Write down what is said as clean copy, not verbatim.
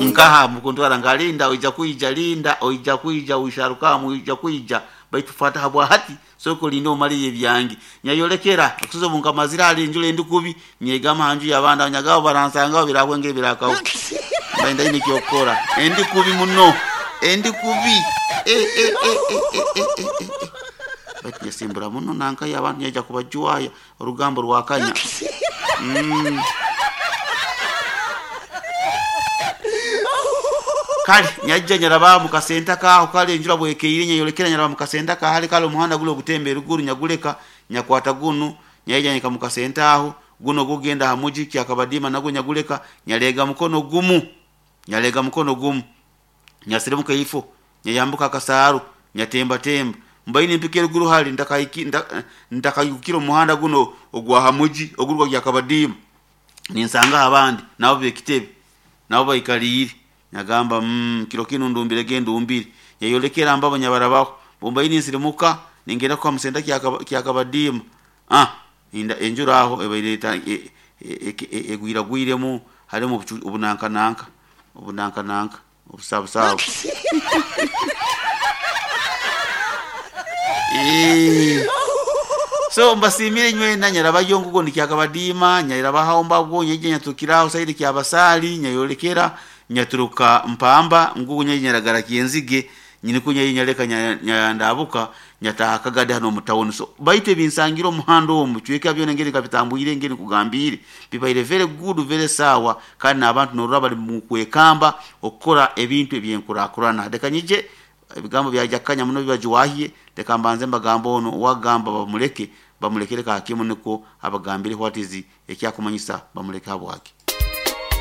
Nkaha mukuntwara nga linda oija kwija, linda oija kwija, wisharukamu oija kwija, baitu fata habwa hati soko linde omaliye ebyange. Nyayolekera okusuza obu nkamazire hali enjura endi kubi, nyegama ha nju y'abandi abanyagaho baransangaho birakwengera ebirakaho. Mbaire ntaine eky'okukora. Endi kubi muno, endi kubi. Eh, eh, eh, eh, eh, eh, eh, eh. Baitu nyesimbura muno nankayo abantu nyaija kubajwaya orugambo rwakanya. Kale nyaija nyaraba mu kasenta kaaho, kale enjura bwekeire nyayolekera nyaraba mu kasenta kahali, kale omuhanda guli ogutemba eruguru nyaguleka nyakwata gunu, nyaija nyahika mu kasenta aho, guno ogugenda ha muji Kyakabadiima nagwo nyaguleka nyaleega mukono gumu, nyaleega mukono gumu, nyasirimuka ifo, nyayambuka akasaaru, nyatembatemba, mbaire nimpika eruguru hali ntakaigukire omuhanda guno ogwa ha muji oguruga Kyakabadiima, ninsangaho abandi nabo b'ekitebe, nabo baikaliire. Nyagamba, kiro kinu ndumbirege ndumbire. Nyayolekera mbabo nyabarabaho. Bumbaire ninsirimuka, ningenda kuha musenta Kyakabadiima. Enjura aho ebaire egwiragwiremu, harimu obunankananka, obunankananka, obusabusabu. So mbasiimire inywena, nyarabayo ngugo ndi Kyakabadiima, nyarabaho mbabwo, nyaija nyaturukira aho saidi Kyabasaali, nyayolekera nyaturuka Mpamba, ngugo nyaija nyaragara Kyenzige, nikwo nyaija nyaleka nyandabuka nyataaha Kagadi hanu omu tawuni. So baitu ebinsangire omuhanda omu bicweka byona engeri nkabitambuire engeri nkugambiire, bibaire very good, very sawa, kandi n'abantu norora bali mu kwekamba okukora ebintu eby'enkurakurana. Leka nyije ebigambo byaija kukanya muno bibajwahye, leka mbanze mbagambe onu owagamba bamuleke, bamulekere ka kimu nikwo abagambire what is ekyakumanyisa bamuleke habwaki.